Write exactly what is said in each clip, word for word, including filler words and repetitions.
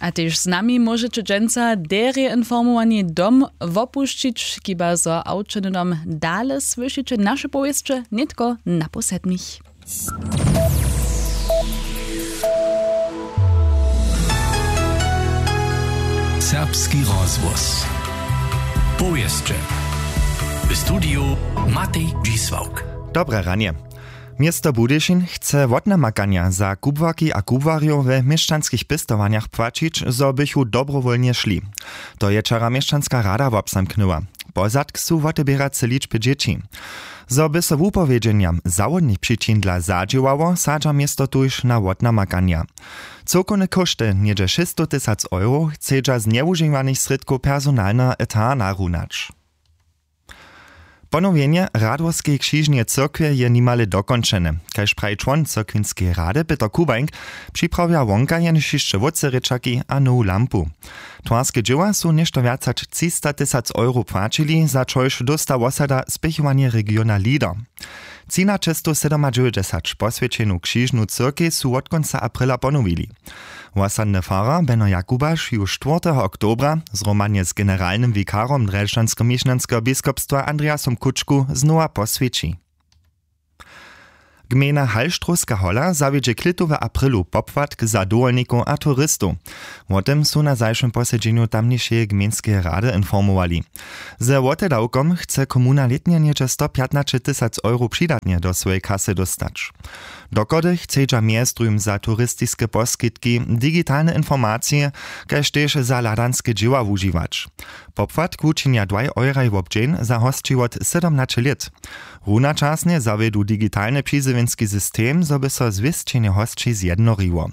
A tež z nami móžeće dźensa derje informowani dom wopušćić, chiba zo awčeny dom dale słyšiće naše powěsće nětko na pół sedmich. Serbski rozhłos. Powěsće. W studiju Matej Dźisławk. Dobre ranje. Město Budyšin chce wotnamakanja za kubłarki a kubłarjow we měšćanskich pěstowanjach płaćić, zo bychu dobrowólnje šli. To je wčera měšćanska rada wobzamknyła. Pozadk su woteběrace ličby dźěći. Zo by so wupowědźenjam zawodnych přičin dla zadźěłało, sadźa město tuž na wotnamakanja. Cyłkowne kóšty něhdźe šěsćstow tysac euro chcedźa z njewužiwanych srědkow personalneho eta narunać. Ponowjenje radworskeje křižneje cyrkwje je nimale dokónčene. Kaž praji čłon cyrkwinskeje rady Pětr Kubańk, připrawja wonka jenož hišće wótře rěčaki a nowu lampu. Twarske dźěła su něšto wjac hač třista tysac euro płaćili, za čož dósta wosada spěchowanje regiona leader. Třinaćestow sydomadźewjećdźesat poswjećenu křižnu cyrkej su wot kónca aprila ponowili. Wosadny farar Beno Jakubaš ju štwórteho oktobra zhromadnje z generalnym wikarom drježdźanskomišnjanskeho biskopstwa Andreasom Kučku znowa poswjeći. Gmejna Halštrowska hola zawjedźe klětu w aprilu popłatk za dowolnikow a turistow. Wo tym su na zašłym posedźenju tamnišeje gmejnskeje rady informowali. Ze wotedawkom chce komuna lětnje něhdźe stopjatnaće tysac euro přidatnje do swojej kasy dóstać. Dochody chcedźa mjez druhim za turistiske poskitki, digitalne informacije, kaž tež za hladanske dźěła wužiwać. Popłatk wučinja dwaj euraj wobdźeń za hosći wot sydomnaće lět. Runačasnje zawjedu digitalny přizjewjenski system, zo by so zwěsćenje hosći zjednoriło.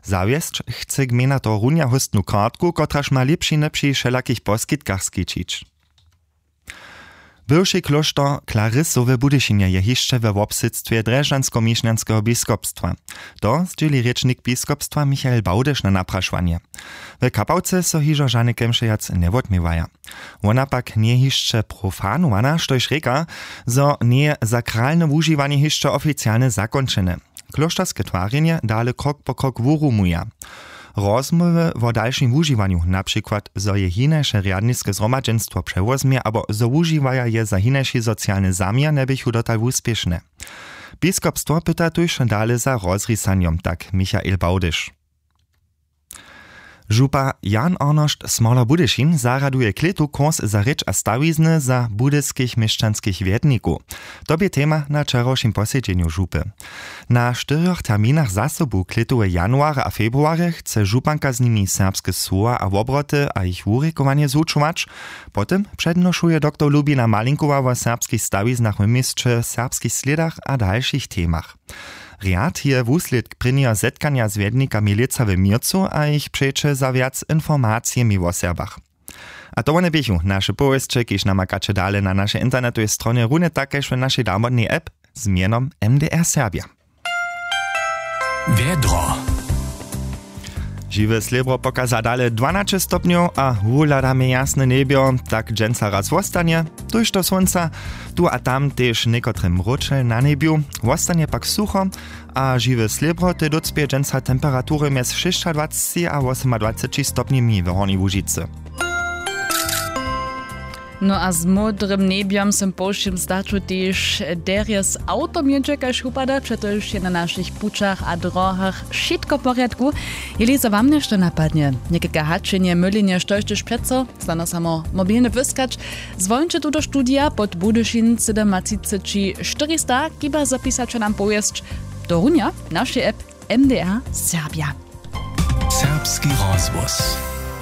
Zawjesć chce gmejna tohorunja hóstnu kartku, kotraž ma lěpšiny při wšelakich poskitkach skićić. Bywši klóšter Klarisow w Budyšinje je hišće we wobsydstwje drježdźanskomišnjanskeho biskopstwa. To zdźěli rěčnik biskopstwa Michael Bałdyš na naprašowanje. W kapałce so hižo žane kemše wjac njewotměwaja. Wona pak njeje hišće profanowana, štož rěka, zo njeje sakralne wužiwanje hišće oficialnje zakónčene. Klóšterske twarjenje dale krok po krok wurumuja. Rozmołwy wo dalšim wužiwanju, na přikład zo je hinaše rjadniske zhromadźenstwo přewozmje abo zo wužiwaja je za hinaši socialny zaměr, njeběchu dotal wuspěšne. Biskopstwo pyta tuž dale za rozrisanjom, tak Michael Bałdyš. Župa Jan Arnošt Smoler Budyšin zarjaduje klětu kurs za rěč a stawizny za budyskich měšćanskich wjednikow. To bě tema na wčerawšim posedźenju župy. Na štyrjoch terminach zasobu, klětu w januarje a februarje, chce županka z nimi serbske słowa a wobroty a jich wurěkowanje zwučować. Potom přednošuje doktor Lubina Malinkowa wo serbskich stawiznach w měsće, serbskich slědach a dalšich temach. Rjad je wuslědk prěnjeho zetkanja z wjednikami lětsa w měrcu a jich přeće za wjac informacijemi wo Serbach. A to wone běchu naše powěsće, kiž namakaće dale na našej internetowej stronje, runje tak kaž w našej damodnej app z mjenom M D R Serbja. Wjedro. Žiwe slěbro pokaza dale dwanaće stopnjow a wuhladamy jasne njebjo, tak dźensa raz wostanje. Tuž do słónca, tu a tam tež někotre mróčel na njebju. Wostanje pak sucho a žiwe slěbro tej dócpě dźensa temperatury mjez šěsćadwaceći a wosomadwaceći stopnjemi w Hornjej Łužicy. No a z módrym njebjom sym po wšěm staću tež derje z awtom jědźe, kaž wupada, přetož je na našich pućach a drohach wšitko w porjadku. Jeli zo wam něšto napadnje, někajke haćenje, mylenje, štož tež přeco, snano samo mobilny wyskać, zwolnće tu do studija pod Budyšin sydomatřiceći štyrista, chiba zapisaće nam powěsć do runja w našej app M D R Serbja. Serbski rozhłos.